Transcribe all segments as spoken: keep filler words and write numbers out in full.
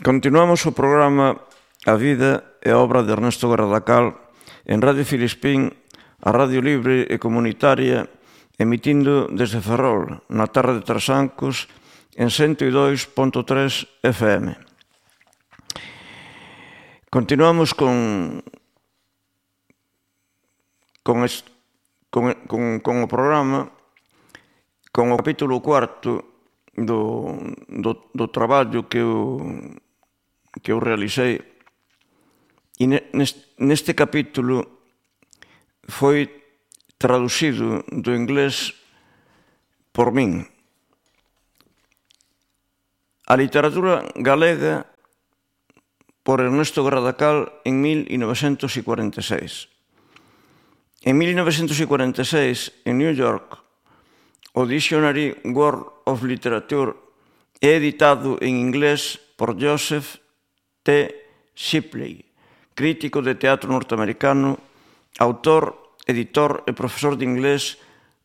Continuamos o programa A Vida e a Obra de Ernesto Garradacal en Radio Filispín, a Radio Libre e Comunitaria, emitindo desde Ferrol, na terra de Trasancos, en ciento dos punto tres F M. Continuamos con con, es, con, con, con o programa, con o capítulo cuarto do, do, do traballo que eu, que eu realicei. E neste capítulo foi traducido do inglés por min. A literatura galega por Ernesto Garradacal en mil novecentos cuarenta e seis. En mil novecentos cuarenta e seis, en New York, o Dictionary World of Literature é editado en inglés por Joseph T. Shipley, crítico de teatro norteamericano, autor, editor e profesor de inglés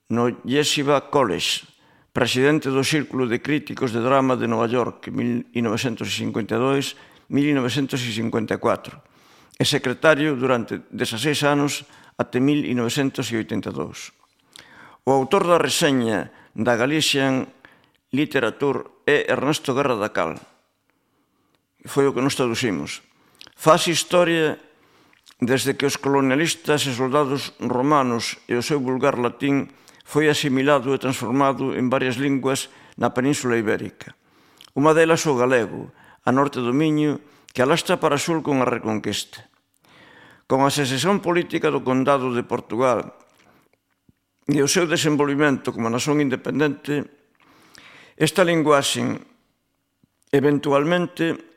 no Yeshiva College, presidente do Círculo de Críticos de Drama de Nova York en mil novecentos cincuenta e dois a mil novecentos cincuenta e catro e secretario durante dezaseis anos até mil novecentos oitenta e dous. O autor da reseña da Galician Literature é Ernesto Garradacal. Foi o que nos traducimos. Faz historia desde que os colonialistas e soldados romanos e o seu vulgar latín foi asimilado e transformado en varias linguas na Península Ibérica. Unha delas o galego, a norte do Miño, que alastra para sul con a Reconquista. Con a secesión política do Condado de Portugal e o seu desenvolvimento como nación independente, esta linguaxe eventualmente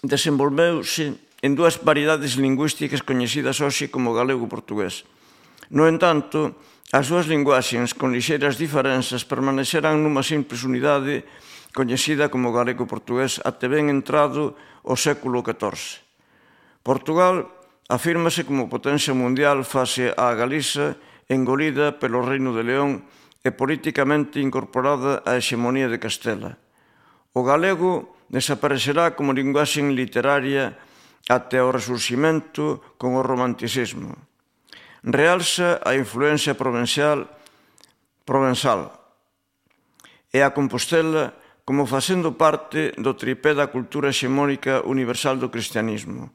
desenvolveuse en dúas variedades lingüísticas coñecidas hoxe como galego-portugués. No entanto, as dúas linguaxes con lixeiras diferenzas permaneceran nunha simples unidade coñecida como galego-portugués até ben entrado o século catorce. Portugal afírmase como potencia mundial face á Galiza engolida pelo Reino de León e políticamente incorporada á hexemonía de Castela. O galego desaparecerá como linguaxe literaria até o resurximento con o romanticismo. Realza a influencia provenzal, provenzal e a Compostela como facendo parte do tripé da cultura hexemónica universal do cristianismo.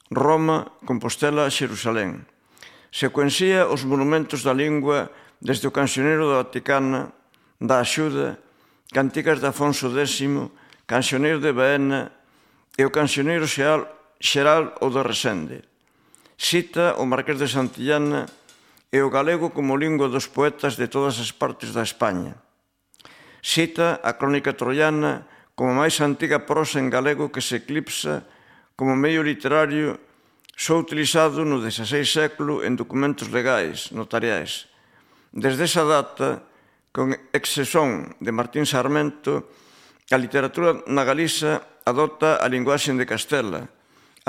Roma, Compostela, Xerusalén. Secuencia os monumentos da lingua desde o cancioneiro da Vaticana, da Axuda, cantigas de Afonso X, cancioneiro de Baena e o cancioneiro xeral, xeral o de Resende. Cita o Marqués de Santillana e o galego como lingua dos poetas de todas as partes da España. Cita a Crónica Troiana como a máis antiga prosa en galego que se eclipsa como medio literario só utilizado no dezaseis século en documentos legais, notariais. Desde esa data, con excepción de Martín Sarmento, a literatura na Galiza adopta a linguaxe de Castela,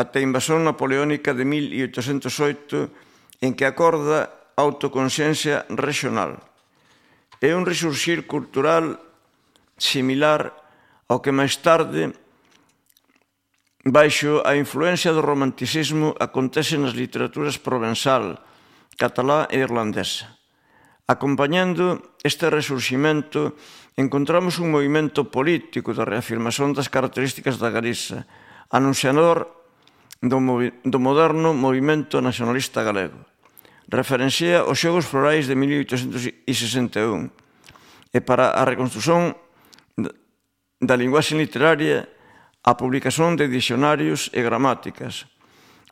até a invasión napoleónica de mil oitocentos oito, en que acorda a autoconsciencia regional. É un resurxir cultural similar ao que máis tarde, baixo a influencia do romanticismo, acontece nas literaturas provenzal, catalá e irlandesa. Acompañando este resurximento, encontramos un movimento político de reafirmación das características da Galiza, anunciador do, do moderno movimento nacionalista galego. Referencia os Xogos Florais de mil oitocentos sesenta e un e para a reconstrución da linguaxe literaria a publicación de dicionarios e gramáticas,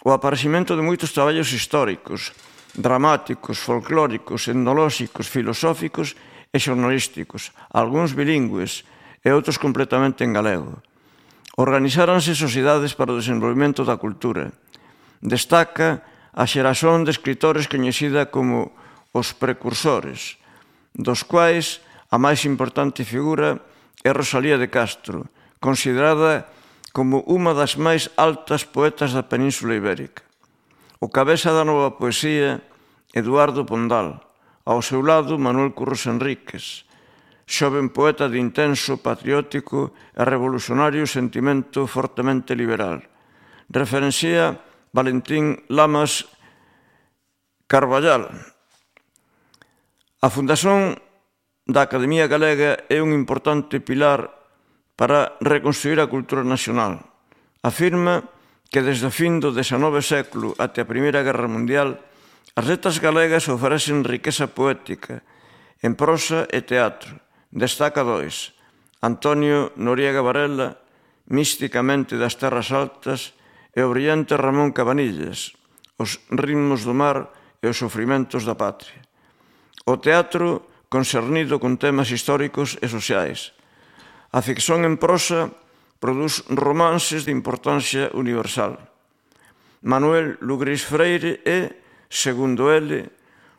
o aparecimento de moitos traballos históricos, dramáticos, folclóricos, etnolóxicos, filosóficos e xornalísticos, algúns bilingües e outros completamente en galego. Organizáranse sociedades para o desenvolvemento da cultura. Destaca a xeración de escritores coñecida como os precursores, dos quais a máis importante figura é Rosalía de Castro, considerada como unha das máis altas poetas da Península Ibérica. O cabeza da nova poesía, Eduardo Pondal. Ao seu lado, Manuel Curros Enríquez. xoven poeta de intenso, patriótico e revolucionario sentimento fortemente liberal. Referencia Valentín Lamas Carballal. A Fundación da Academia Galega é un importante pilar para reconstruir a cultura nacional. Afirma que desde o fin do dezenove século até a Primeira Guerra Mundial as letras galegas oferecen riqueza poética en prosa e teatro. Destaca dois: Antonio Noriega Varela, Místicamente das Terras Altas, e o brillante Ramón Cabanillas, Os ritmos do mar e os sofrimentos da patria. O teatro concernido con temas históricos e sociais. A ficción en prosa produz romances de importancia universal. Manuel Lugrís Freire é, segundo ele,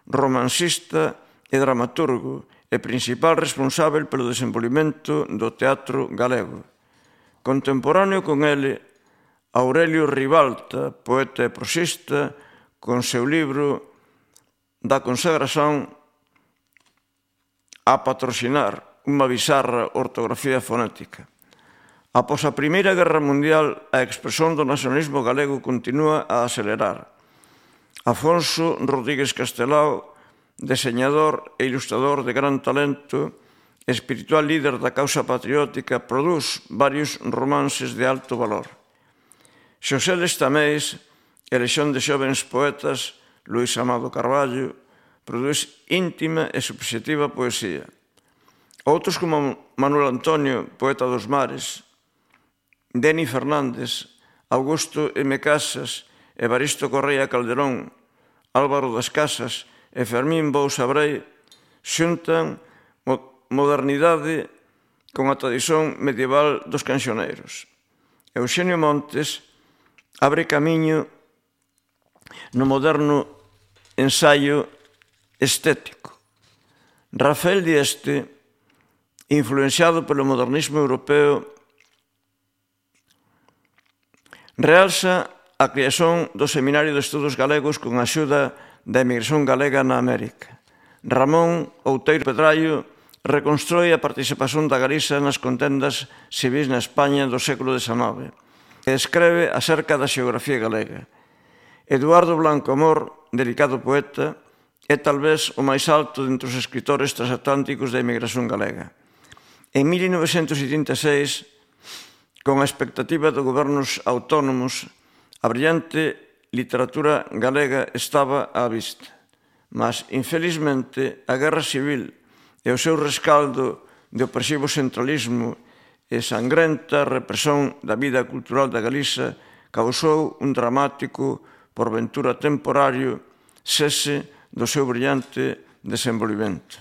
romancista e dramaturgo e principal responsável pelo desenvolvemento do teatro galego. Contemporáneo con ele, Aurelio Ribalta, poeta e prosista, con seu libro Da consagración a patrocinar, unha bizarra ortografía fonética. Após a Primeira Guerra Mundial, a expresión do nacionalismo galego continúa a acelerar. Afonso Rodríguez Castelao, deseñador e ilustrador de gran talento, espiritual líder da causa patriótica, produz varios romances de alto valor. Xosé Lestamés, elección de xovens poetas, Luís Amado Carballo, produz íntima e subxectiva poesía. Outros como Manuel Antonio, poeta dos mares, Deni Fernández, Augusto M. Casas, Evaristo Correa Calderón, Álvaro das Casas e Fermín Bousa Brei xuntan modernidade con a tradición medieval dos cancioneiros. Euxenio Montes abre camiño no moderno ensaio estético. Rafael Dieste, influenciado polo modernismo europeo, realza a creación do Seminario de Estudos Galegos con a axuda da emigración galega na América. Ramón Outeiro Pedrallo reconstroi a participación da Galiza nas contendas civis na España do século dezenove e escreve acerca da xeografía galega. Eduardo Blanco Amor, delicado poeta, é talvez o máis alto dentre os escritores transatlánticos da emigración galega. En mil novecentos setenta e seis, con a expectativa de gobernos autónomos, a brillante literatura galega estaba á vista. Mas, infelizmente, a guerra civil e o seu rescaldo de opresivo centralismo e sangrenta represión da vida cultural da Galiza causou un dramático, por ventura temporario, cese do seu brillante desenvolvimento.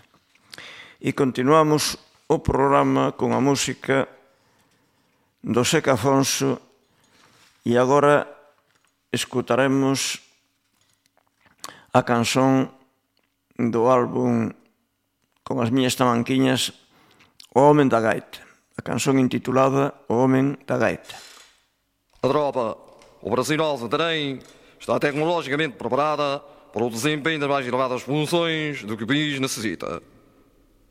E continuamos o programa con a música do Seca Afonso e agora escutaremos a canción do álbum Con as miñas tamanquiñas, O Homen da Gaita, a canción intitulada O Homen da Gaita. A tropa operacional Santarém está tecnologicamente preparada para o desempenho das mais elevadas funções do que o país necessita.